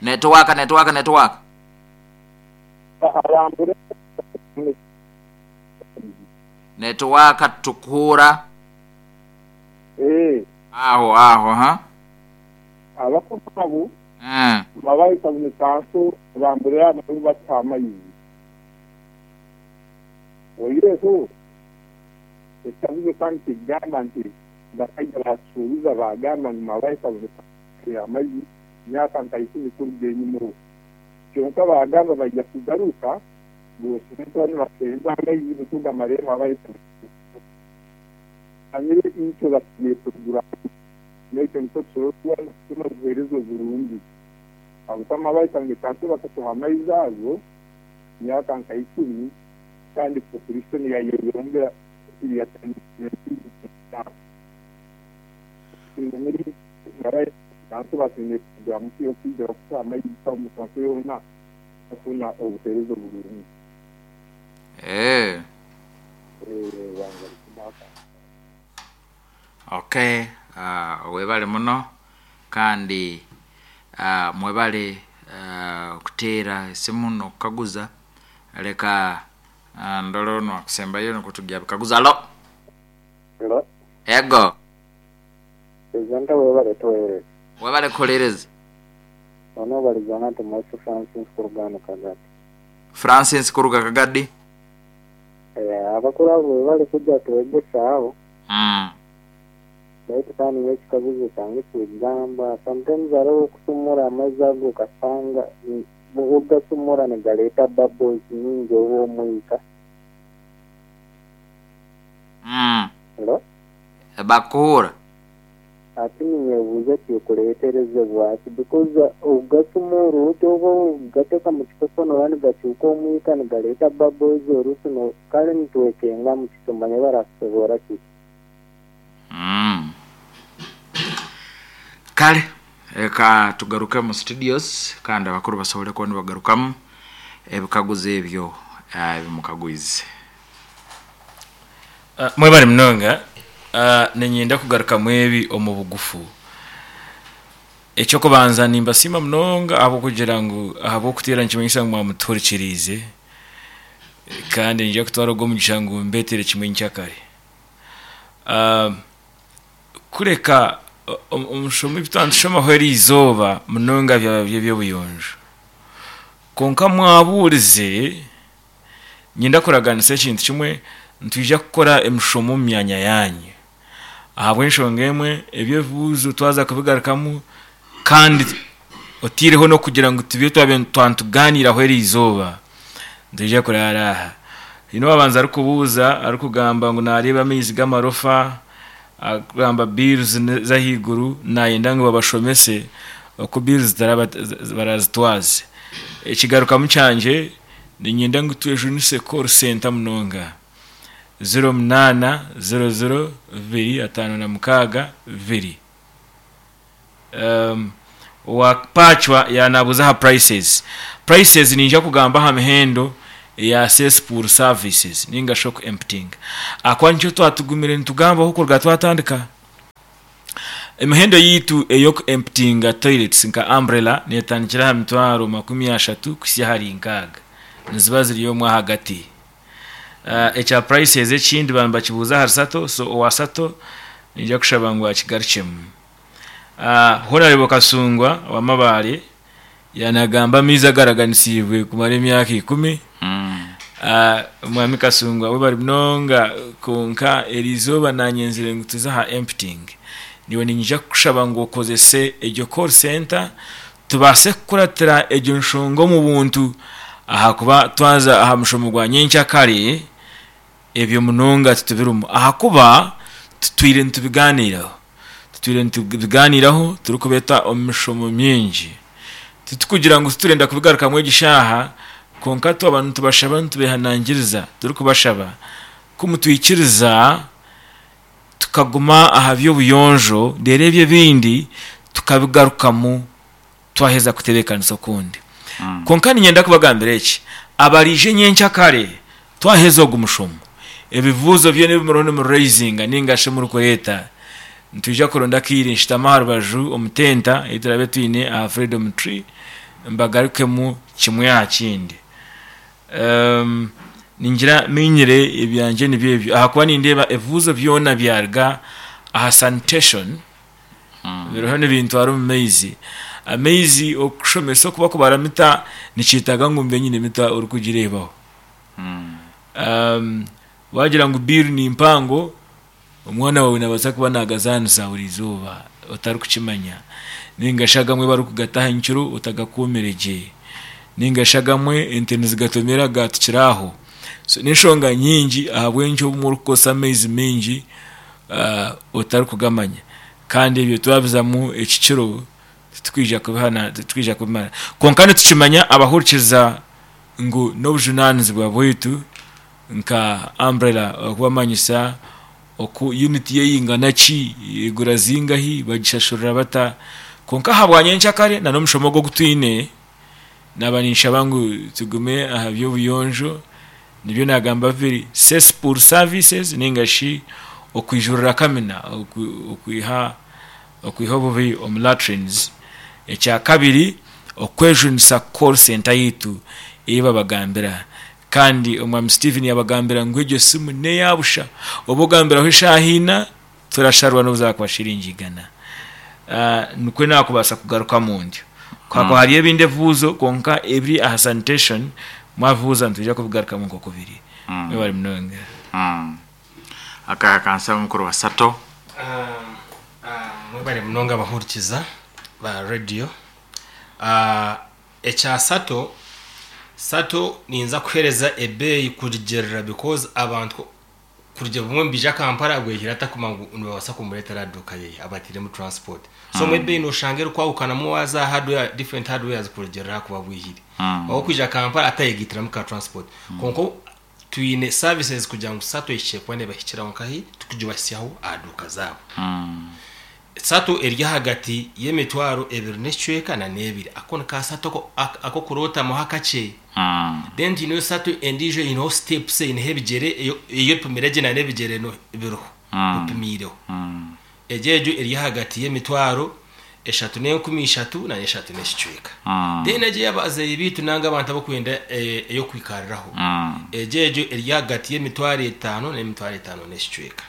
Netiwaaka netiwaaka netiwaaka. Netiwaaka titukuhuura. Aho aho ha. Abakuru abo babahi Town Council bamburira nabo batuha amaizi. Oihireho ekikaguzo kandi nikigamba nti bakaija batushuubuza bagamba ngu Mabahi Town Council ya amaizi emyaka nka ikumi kuruga enyima okwo. Kyonka bagamba baija kugaruka boosime kuba nibaseeza amaizi nikwo gamare Mabahi Town Council. Manyire itwe basigaire kugura amaizi. N'ekyo nikwo tusobora kuba nitufuna obuheereza oburungi. Ahabw'okuba Mabahi Town Council bakatuha amaizi ago emyaka nka ikumi kandi population yayeyongera Eeh. Okay, webale muno kandi mwebale kuteera esimu n'okukaguza. Leka ndole onu akusembayo nikwo tugya bikaguzo. Halo? Hello. Ego. Presenter webale tuwereza. Webale kuhuliriza. Ono obaliza nati Mweso Francis kuruga hanu Kagadi. Francis kuruga Kagadi. Eh, abakuru abo webale kuja twegesa aho. Baitu kandi nyowe ekikaguzo kyange kigamba sometimes haroho okusumura amaizi ago okasanga obugasumura nigaleta bubbles nyingi oba omwika. Hello? Bakuhura. Hati ninyebuuza kikureterezebwa ki because obugasumura oti oba obugateka mu kikopo noba nigacuuka omwika nigaleta bubbles orusi no kale nitwekengamu titumanya barakusoboora ki. Kale leka tugaruke mu studios kandi abakuru basobole kuba nibagarukamu ebikaguzo ebyo ebimukagwize. Mwebare munonga. Niinyenda kugarukamu ebi omu bugufu. Eky'okubanza nimbasiima munonga ahabw'okugira ngu ahabw'okuteera nikimanyisa ngu mwamutuhurikiriize kandi niinyija kutwara ogu omugisha ngu mbeetere kimwe nkyakare. Kureka omushomo ebi twaba nitushomaho eriizooba munonga byaba biri eby'obuyonjo. Kwonka mwabuurize, niinyenda kuraganisa ekintu kimwe, nitwija kukora emishomo omu myanya yaanyu. Ahabw'enshonga emwe, ebi ebibuuzo twaza kubigarukamu kandi otaireho n'okugira ngu tube twaba nitugaaniiraho eriizooba, nitwija kuraara aha. Haine owaabanza arikubuuza arikugamba ngu naareeba amaizi g'amarofa, arikugamba bills z'ahaiguru naayenda ngu babashomese oku bills baraazitwaze. Ekigarukamu kyangye niinyenda ngu twejunise call centre munonga. Ziro munaana, ziro ziro, bibiri, ataano na mukaaga, bibiri. Owa Pacwa yaanabuuza aha prices. Prices niija kugamba aha mihendo eya cesspool services nainga shi oku emptyinga. Ahakuba nikyo twatugumire nitugambaho kuruga twatandika. Emihendo yaitu ey'oku emptyinga toilets nka umbrella neetandikira aha mitwaro 30 kuhitsya ahari nkaaga. Niziba ziri omwo ahagati. Ekya prices ekindi baaba nibakibuuza ahari Sato, so owa Sato niinyija kushaba ngu akigarukyemu. Honourable Kasungwa owa Mabaare yaanagamba amaizi agaraganisiibwe kumara emyaka ikumi. Mwami Kasungwa webare munonga kwonka eriizooba naanyenzire ngu tuze aha emptying. Naiwe niinyija kukushaba ngu okozese egyo call centre tubaase kukuratira egyo nshonga omu buntu ahakuba twaza aha mushomo gwa nyenkyakare ebyo munonga titubirimu ahakuba tutwire nitubigaaniiraho. Tutwire nitubigaaniiraho turikubeeta omu mishomo mingi. Titukugira ngu titurenda kubigarukamu egi shaaha kwonka twaba nitubashaba nitubeehanangiriza turikubashaba ku mutwikiriza tukaguma aha by'obuyonjo reero ebyo ebindi tukabigarukamu twaheza kutebeekanisa okundi. Kwonka niinyenda kubagambira eki, abaraije nyenkyakare twaheza ogu mushomo, ebibuuzo byona ebi muriho nimuraizinga nainga shi murikureeta, nitwija kuronda akaire nshutame aha rubaju omu tenta ei turaabe twine aha Freedom Tree. mbagarukemu kimwe aha kindi. Ningira minyire ebyangye nibyo ebyo ahakuba nindeeba ebibuuzo byona byaruga aha sanitation biriho nibintwara omu maizi. Amaizi okushomesa oku barikubara mita nikyetaaga ngu mbe nyine mita orikugireebaho. Waagira ngu bill ni mpango, omwana waawe naabaasa kuba naagazaanisa buri izooba otarikukimanya. Nainga shi agamwe barikugata aha nkiro otagakuumire gye. Nainga shi agamwe ente nizigatomera gaatukira aho. So n'enshonga nyingi ahabw'enki obumwe orikukozesa amaizi maingi otarikugamanya. Kandi ebyo twabizamu eki kiro titurikwija kubihana titurikwija kubimara. Kwonka nitukimanya abahurikiza ngu n'obujunaanizibwa bwaitu nka Umbrella okubamanyisa oku unit yeyingana ki, egura zingahi, bagishashurira bata. Kwonka ahabwa nyenkyakare na n'omushomo ogu ogutwine, naaba ninshaba ngu tugume aha by'obuyonjo, nibyo naagamba biri cesspool services ninga shi okwijurira kamina, okwiha okwiha obubi omu latrines. Ekyakabiri, okwejunisa call centre yaitu ei babagambira. Kandi Omwami Stephen yabagambira ngu egyo simu neya busha, oba ogambiraho eshaaha ina torasharwa nobu zakuba shiringi igana. Nikwo nakubaasa kugarukamu ntyo. Ku hakuba hariyo ebindi ebibuuzo kwonka ebiri aha sanitation mwabibuuza nitwija kubigarukamu nkoku biri. Mwebare munonga. Aka kansaba mukuru wa Sato. Mwebare munonga abahurikiza ba radio. Ekya Sato, Sato ninza kuhereza ebeeyi kurugirira because abantu kurugira bumwe nibaija Kampala bwehire atakumanya ngu nibabaasa kumureetera aha duuka yeye abateiremu transport. So obumwe ebeeyi noshanga erikwahukanamu waaza aha hardware, different hardwares kurugirira aha kuba bwihire. Ow'okwija Kampala atayegaitiramu ka transport. Kwonka twine services kugira ngu Sato ehikye kuba nebahikiraho nkahi tukugibahitsyaho aha duuka zaabo. Sato eri ahagati y'emitwaro ebiri n'ekicweka na n'ebiri. Ako ni ka sato ak'okurootamuho akakye. Then twineyo sato endiijo eineho steps eineho ebigyere eyo epimire gye na n'ebigyere biriho bipimiireho. Egyo egyo eri ahagati y'emitwaro eshatu n'enkumi ishatu na n'eshatu n'ekicweka. Then egyo ey'abazaire baitu nanga abantu abarikwenda ey'okwikariraho, egyo egyo eri ahagati y'emitwaro etaano n'emitwaro etaano n'ekicweka.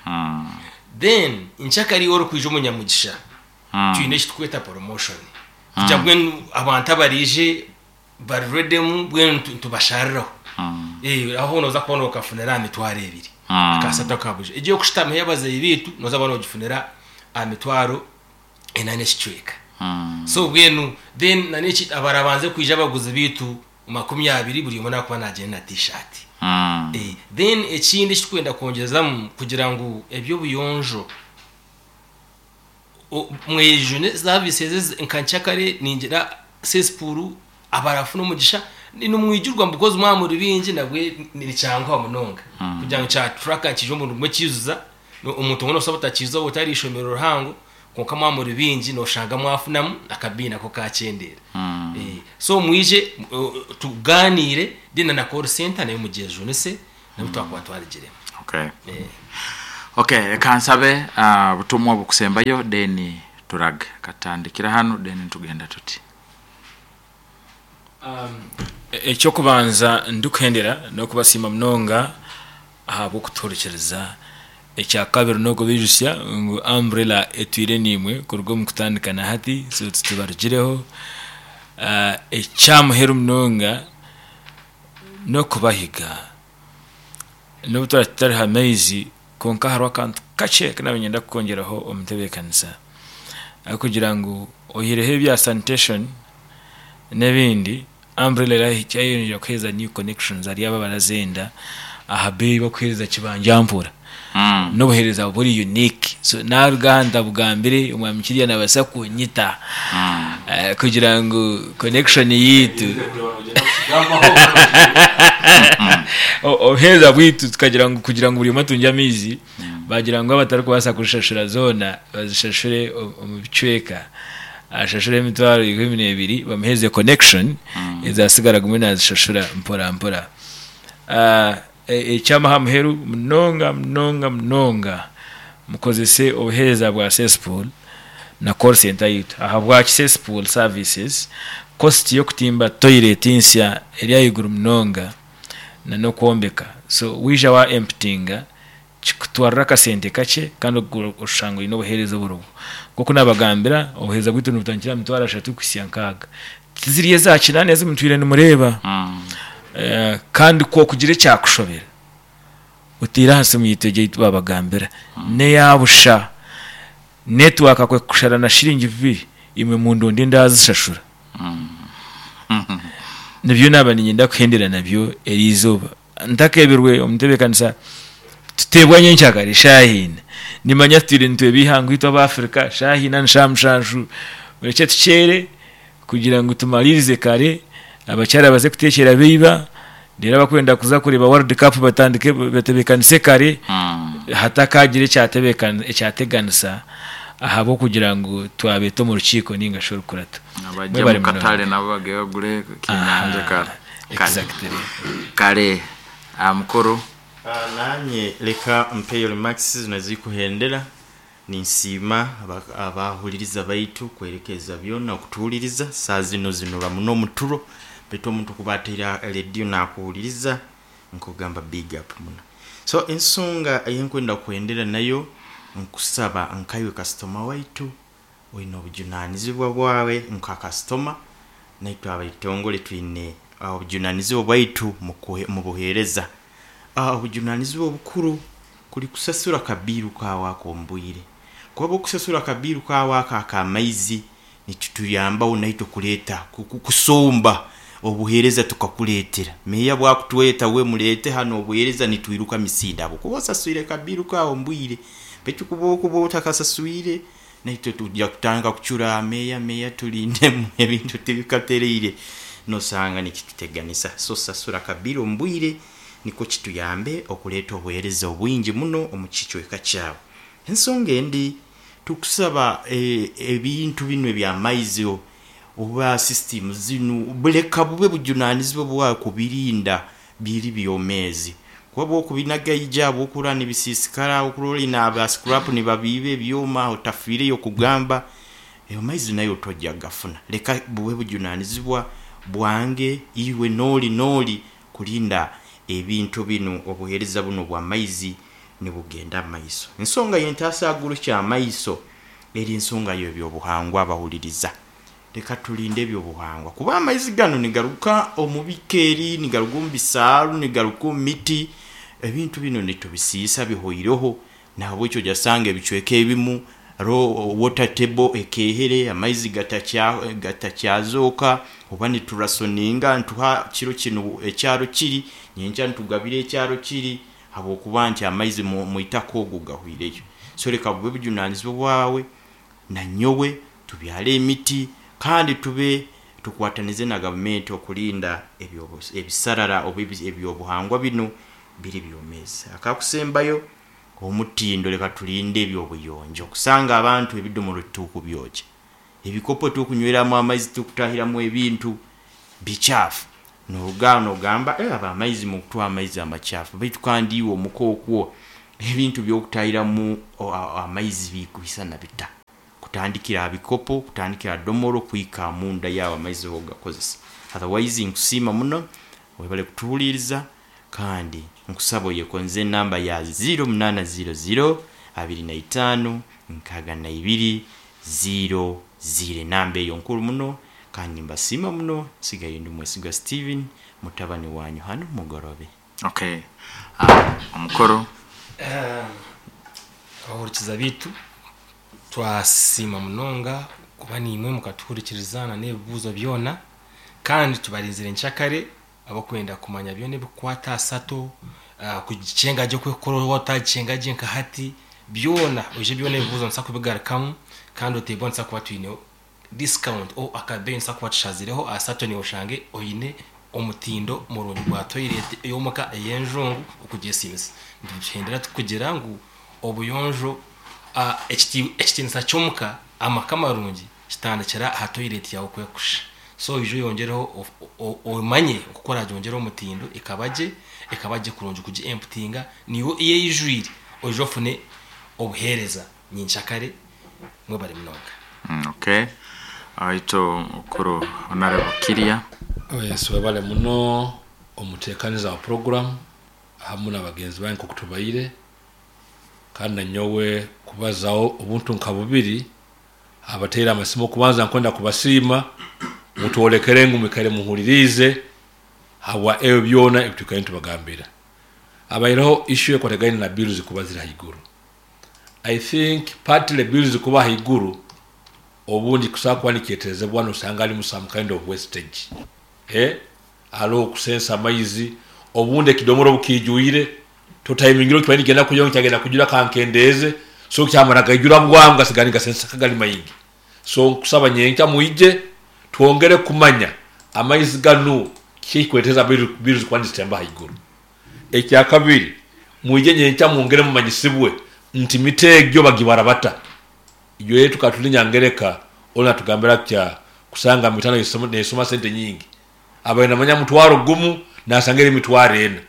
Then nkyakare iwe orikwija omunyamugisha twine eki turikweta promotion kugira mbwenu abantu abaraije bari ready mbwenu nitubashariraho aho nooza kuba nokafunira aha mitwaro ebiri akasente aka burijo. Egyo ey'okushutamaho ey'abazaire baitu nooza kuba nogifunira aha mitwaro ena n'ekicweka. So mbwenu then n'eki abarabanze kwija abaguzi baitu 20 buri omwe nakuba nagyenda na t-shirt. Then ekindi ekiturikwenda kwongyezamu kugira ngu eby'obuyonjo mwejune services ezi nka nkyakare ningira cesspool abarafuna omugisha nimwijurwa because mwaba muri bingi nabwe nikyanguha munonga kugira ngu kya turaka nikija omu gumwe kiijuza omuntu omwe nosobola butakiijuza waaba otari ishomero rihango Kwonka mwaba muri baingi nooshanga mwafunamu akabiina nako kaakyendeera. So mwije tugaaniire then na call center nayo mugyejunise nabwo twakuba twarugiremu. Okay. Okay, reka nsabe obutumwa obukusembayo then turage. Katutandikire hanu then nitugenda tuti. Eky'okubanza ndikuhendera n'okubasiima munonga ahabw'okutuhurikiriza. Ekyakabiri n'okubaijutsya ngu Umbrella etwire naimwe kuruga omu kutandika na hati so titubarugireho. Ekyamuheru munonga n'okubahiga n'obu turaabe tutari ha maizi kwonka hariho akantu kakye aku naabaire niinyenda kukwongyeraho omu ntebeekanisa ahabw'okugira ngu oihireho ebya sanitation n'ebindi, Umbrella erahikya kuheereza new connections ahari abo abarazenda aha beeyi bakuheereza kibanja mpora n'obuheereza buri unique so naruga aha ntabugambire omwami Kirya nabaasa kunyita kugira ngu connection yaitu obuheereza bwaitu tukagira ngu kugira ngu buri omwe atungye amaizi bagira ngu abatarikubaasa kuzishashura zoona bazishashure omu bicweka ashashure emitwaro 12 bamuheereze connection ezasigara agume nazishashura mpora mpora. Eky'aha muheru munonga munonga munonga mukozese obuheereza bwa Cesspool na call centre yaitu. Ahabwaki Cesspool services? Cost y'okutimba toilet nsya eri ahaiguru munonga na n'okwombeka. So waija wa emptyinga kikutwarira akasente kakye kandi oshanga oine obuheereza oburiho. Nk'oku naabagambira, obuheereza bwaitu nibutandikira aha mitwaro ashatu kuhitsya nkaaga. Tiziri eza kinaana ezi mutwire nimureeba. Kandi ku okugira ekyakushobera, oteire aha simu yaitu egyo ei twabagambira, n'eya busha. Netiwaaka ku ekukushara na shiringi bibiri, imwe mundonde ndaazishashura. Nibyo naaba niinyenda kuhendera nabyo eri izooba. Ntakeebirwe omu ntebeekanisa, tuteebwa nyenkyakare eshaaha ina. Nimanya tutwire nitweba eihanga itwe Abaafirika, shaaha ina ni shaaha mushanju. Murekye tukyere kugira ngu tumariirize kare, abakyara baze kuteekyera beiba, reero abakwenda kuza kureeba World Cup batandike batebeekanise kare, hatakaagira ekyateganisa ahabw'okugira ngu twabeeta omu rukiiko nainga shi orukurato. Abajya Mwebare omu katare munonga. nabo bagende bagure ekinyanja Aha, kare. exactly. Kare aha mukuru. Nanye leka mpeyo remarks zino ezikuhendera. Ninsiima abahuririza baitu kwerekeza byona okutuhuririza saaha zino zinura muno omuturo baitu omuntu kuba ataire rediyo nakuhuririza nkugamba big up muno. So ensonga eyinkwenda kuhendera nayo nkusaba nkaiwe kasitoma waitu oine obujunanizibwa bwawe nka kasitoma naitwe abeitongore twine obujunanizibwa bwaitu mubuhereza. Obujunanizibwa obukuru kuri kusasura akabiiru kaawe ako omu bwire. Ku oba okusasura akabiiru kaawe ako ak'amaizi, nikituyambaho naitwe kureeta, kusomba obuheereza tukakureetera. Meeya obu akutweta we mureete hanu obuheereza nitwiruka misinde ahabw'okuba osaswire akabiiru kaawe omu bwire. Beitu ku orikuba otakasaswire, naitwe twija kutandika kucura, meeya, meeya turindemu ebintu tibikatereire. Noshanga nikituteganisa. So sasura akabiiru omu bwire. Nikwo kituyambe okureeta obuheereza obwingi muno omu kicweka kyawe. Ensonga endi, tukusaba ebintu binu eby'amaizi oba sisitimu zinu leka bube bujunanizibwa bwawe kubirinda biri byomeezi. Kuba obwokubinagaija, obwokurora nibisiisikara, okurora oine aba scrap nibabiiba ebyoma otafiireyo kugamba, amaizi nayo toija kugafuna. Leka bube bujunanizibwa bwange, iwe n'oli n'oli Kurinda ebintu binu, obuheereza bunu obw'amaizi nibugenda mu maiso. Ensonga y'entaasaguru ky'amaiso eri nsonga y'eby'obuhangwa abahuliriza. Leka tulinde eby'obuhangwa kuba amaizi ganu nigaruga omu bikeeri, nigaruga omu bisaaru, nigaruga omu miti. Ebintu binu nitubisiisa bihoireho. Nahabwekyo ojasanga ebicweka ebimu hariho water table ekeehere, amaizi gatakyazooka, oba niturasoninga nituha kiro kinu ekyaro kiri, nyenkya nitugabira ekyaro kiri habwokuba nti amaizi mwitaka ogu gahwireyo. So leka bube bujunanizibwa bwawe nanyowe tubyare emiti kandi tube tukwatanize na gavumenti okurinda ebisarara oba ebyobuhangwa binu biri byomeezi. Akakusembayo, omutindo leka turinde eby'obuyonjo. Kusanga abantu ebidomoro titukubyokya, ebikopo tukunyweramu amaizi tukutahiramu ebintu bikyafu. Noruga aho nogamba eh aba amaizi mukutuha amaizi amakyafu baitu kandi iwe omuka okwo ebintu by'okutahiramu amaizi bikwisana bita? Kutandikira aha bikopo, kutandikira aha domoro kuhika munda yaawe amaizi ahu ogakozesa. Otherwise nkusiima muno, webale kutuhuriiriza kandi nkusaba oyekonze enamba ya ziiro munaana ziiro ziiro 25 62 ziiro ziiro. Enamba eyo nkuru muno kandi nimbasiima muno. Nsigaire ndi Mwesigwa Steven mutabani wanyu hanu Mugorobe. Okay. Omukuru. Abahurikiza baitu twasiima munonga kuba naimwe mukatuhurikiriza na n'ebibuuzo byona kandi tubarinzire nkyakare abakwenda kumanya byona ebikukwata aha sato, kugikyenga gye oku ekukora waaba otagikyenga gye nka hati, byona oije byona ebibuuzo nituza kubigarukamu kandi oteebwa nituza kuba twine discount or akabeeyi nituza kuba tushazireho aha sato naiwe oshange oine omutindo murungi gwa toilet ey'omuka ey'enjungu okugyesiimisa. Nituhendera tukugira ngu obuyonjo, ekitiinisa ky'omuka, amaka marungi kitandikira aha toilet yaawe oku erikushusha. So oije oyongyereho omanye oku oragyongyere omutindo ekaba gye, ekaba gye kurungi kugi emputinga naiwe eyijwire oije ofune obuheereza nyenkyakare. Mwebare munonga. Okay. Awaitu mukuru Honorable Kirya. Yes, webale muno omutekaniza wa program hamu na bagenzi bange nkoku tubaire, kandi nanyowe kubazaho obuntu nka bubiri abateire amasimu. Okubanza nkwenda kubasiima mutwolekere ngu mwikare muhuririize habwa ebyo byona ebitwikaire nitubagambira. Abaireho issue ekwatagaine na bills kuba ziri haiguru. I think partly bills kuba haiguru obundi kusobola kuba nikyeterezebwa nosanga harimu some kind of wastage, hariho okusensa amaizi, obundi ekidomora obukiijwire totayimingire okibaire nikigenda kujura ngu kyagenda kujura kankendeeze, so kyamara gaijura bwangu gasigara nigasensa kagari maingi. So nkusaba nyenkya mwije twongere kumanya amaizi ganu kiki ekikureeteza bills kuba nizitemba haiguru. Ekyakabiri, mwije nyenkya mwongere mumanyisibwe nti mita egyo bagibara bata. Ijo tukaba turi Nyangereka, onu atugambira atya kusanga mita nesoma sente nyingi. Abaire namanya mutwaro gumu nasanga eri emitwaro ena.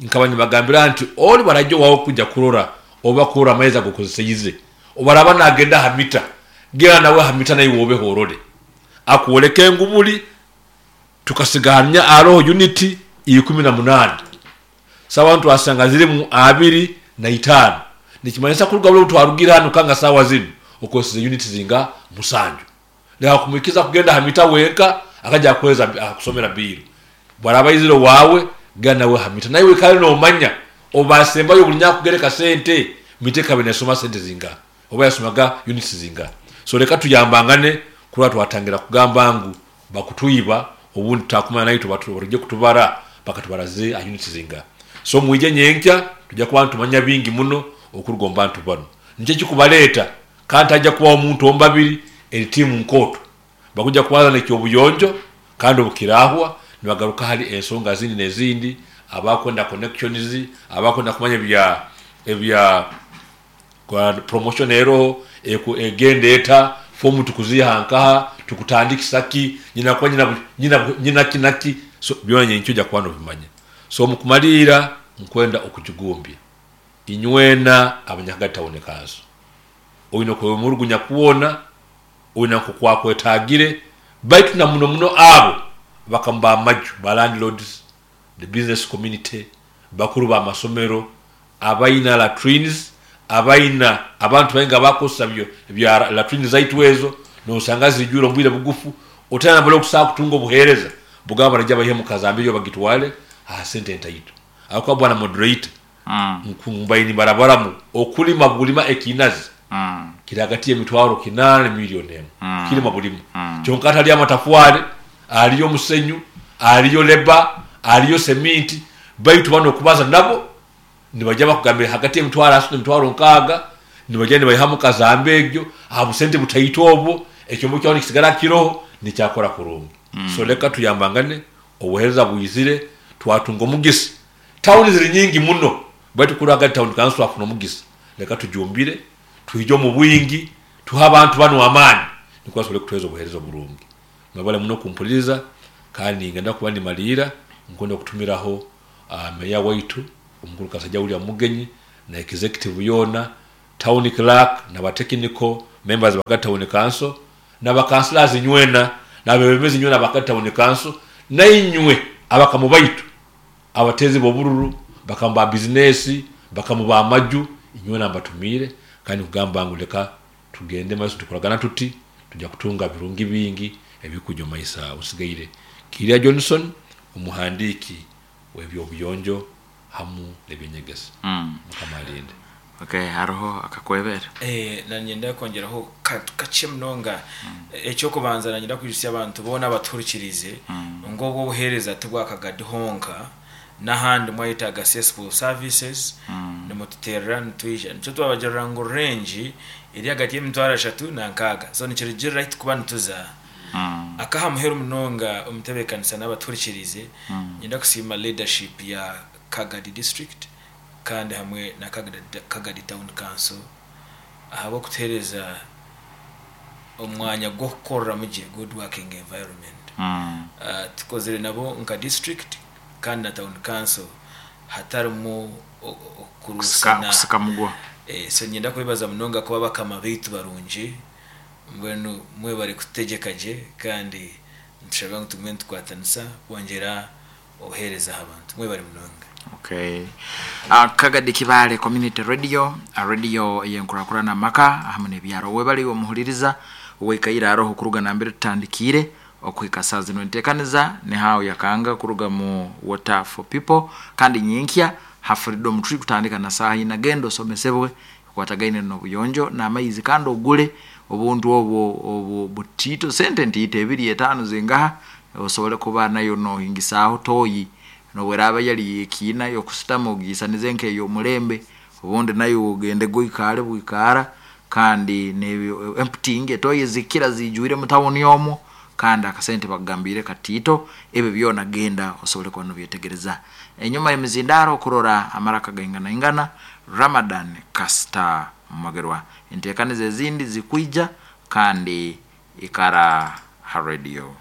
Nkaba nibagambira nti ori baraija owawe kuija kurora oba kurora amaizi agokozeseize, obaraba nagenda aha mita, genda nawe aha mita naiwe obeho orore. Akwoleke ngu buri tukasiga aroho uniti 18. Sawa twasanga zirimu 25. Nikimanyisa kuruga buri twarugire hanu kanga sawa zinu okozesa uniti zinga 7. Leka kumukiza kugenda aha mita wenka akaja akweza akusomera bill. Bwaraba iziro wawe genda nawe aha mita naiwe kale nomanya obasembayo buri nyakugereka sente mite kabe nesoma sente zinga oba yasomaga units zinga. So leka tuyambangane kura twatangira kugamba ngu bakutuiba obundi takumanya nayo tubatuje kutubara bakatubaraze a units zinga. So mwije nyenkya tujja kuba tumanya bingi muno okurugomba bantu bano. Nikyo kikubaleta kandi ajja kuba omuntu ombabiri eri timu nkoto bakuja kubaza nekyobuyonjo kandi obukirahwa nibagaruka hari ensonga zindi nezindi, abakwenda connections, abakwenda kumanya ebya kwa promotion ero egende eta fomu tukuziha nkaha tukutandikisa ki nyina kwa nyina nyina nyina kinaki. So byona nyenkyo ja kwano bimanya. So mukumalira nkwenda okujugumbya inywena abanyakagati town council oyino kwe murugunya kuwona oyina nkukwatagire baitu na muno muno abo bakamba amaju ba landlords, the business community, bakuru ba masomero, abaina latrines, abaina abantu bainga bakosa byo bya latrines zaitu ezo nosanga zijura mbwire bugufu otana balo kusaka kutunga obuhereza bugaba baraja bahe mukazambi yo bagitwale ha sente ntaitu akwa bwana moderator nkumbaini barabara mu okulima bulima ekinazi kiragati emitwaro 8 milioni emu kilima bulima kyonka atali amatafwale aliyo musenyu aliyo leba aliyo seminti baitu bano kubaza nabo nibajja bakugambira hagati emitwaro asatu emitwaro 6 nibajja nibayihamu kazambe egyo abusente butaito obwo ekyombo kyawo nikisigala kiroho nikyakora kurungi. So leka tuyambangane obuhereza bwizire twatunga omugisa. Tawuni ziri nyingi muno baitu kuraga town council afuna omugisa, leka tujumbire tuije omu bwingi tuha abantu bano amaani niko basobole kutuheereza obuheereza oburungi. Mwebale muno kumpuliriza kandi ngenda kuba ndimalira nkwenda okutumiraho meya waitu omukuru Kasajja William Mugenyi na executive yona, town clerk na ba technical members ba town council na ba councillors nywena na bebembezi nywena ba town council na inywe abakamu baitu abatezi bobururu bakamu ba business bakamu ba maju inywena mbatumire kandi kugamba ngu leka tugende maso tukoragana tuti tujja kutunga birungi bingi ebikujo maisa usigaire. Kirya Johnson omuhandiki w'ebyobuyonjo hamu n'ebyenyegesa. Mukama alinde. Okay, hariho akakwebera. Nanyenda kwongeraho kakye munonga. Ekyokubanza nanyenda kwijusya abantu boona abatuhurikirize ngu obwo obuheereza tibwakagadi honka n'ahandi mwayetaaga cesspool services nimututerera nitwija. Nikyo twabagirira ngu range eri hagati y'emitwaro 3 na 6. So nikirugirira ahi tukuba nituza. Akaha muheru munonga omutebeekanisa n'abatuhurikirize nyenda kusiima leadership ya Kagadi district kandi hamwe na Kagadi town council ahabw'okutuheereza omwanya gw'okukoreramu gye, good working environment. Tukozire nabo nka district kandi na town council hatarimu okurusana. Kusika mugwa. So nyenda kwebaza munonga kuba bakama baitu barungi. Mbwenu mwebare kututegyeka gye kandi nitushaba ngu tugume nitukwatanisa kwongyera obuheereza aha bantu. Mwebare munonga. Okay. Kagadi Kibaale Community Radio, radio ey'enkurakurana amaka hamu n'ebyaro. Webale iwe omuhuliriza owaikaire aroho kuruga nambere tutandikiire okuhika saa zinu. Enteekaniza ni Hao Yakanga kuruga mu Water for People kandi nyenkya ha Freedom Tree kutandika na saaha ina. Genda osomesebwe ekwatagaine n'obuyonjo n'amaizi kandi ogule obuntu obwo obu butiito sente ntiito ebiri etaano zingaha osobole kuba nayo nohingisaaho toyi nobweraaba yali y'ekiina y'okusitama ogiisanize nk'ey'omulembe obundi nayo ogende goikaare bwikaara kandi n'ebyo emptying etoyi zikira ziijwire mu tawuni omwo kandi akasente bakugambiire katiito ebyo byona genda osobole kuba nobyetegereza. Enyuma y'emizindaaro okurora amaraka gainganaingana Ramadan Kasita Mugerwa. Enteekaniza ezindi zikwija kandi ikara ha radio.